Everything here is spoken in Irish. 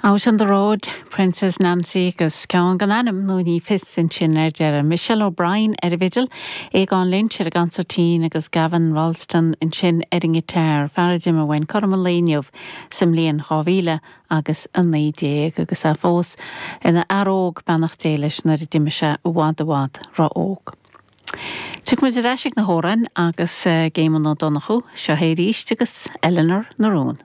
Out on the Road, Princess Nancy agus ceann gan ainm nó ní fios ansin ar deireadh. Michelle O'Brien ar an bhfidil, Aogán Lynch ar an gconsairtín agus Gavin Rolleston ansin ar an ngiotár, fear a d'imigh uainn cothrom an lae inniu sa mbliain 2000 agus 19 agus é fós ina fhear óg, beannacht Dé leis, nuair a d'imigh sé i bhfad i bhfad ró-óg. Tiocfaidh muid ar ais ag na hamhráin agus ag Éamonn Ó Donnchú, seo é arís agus Eleanor na Rún.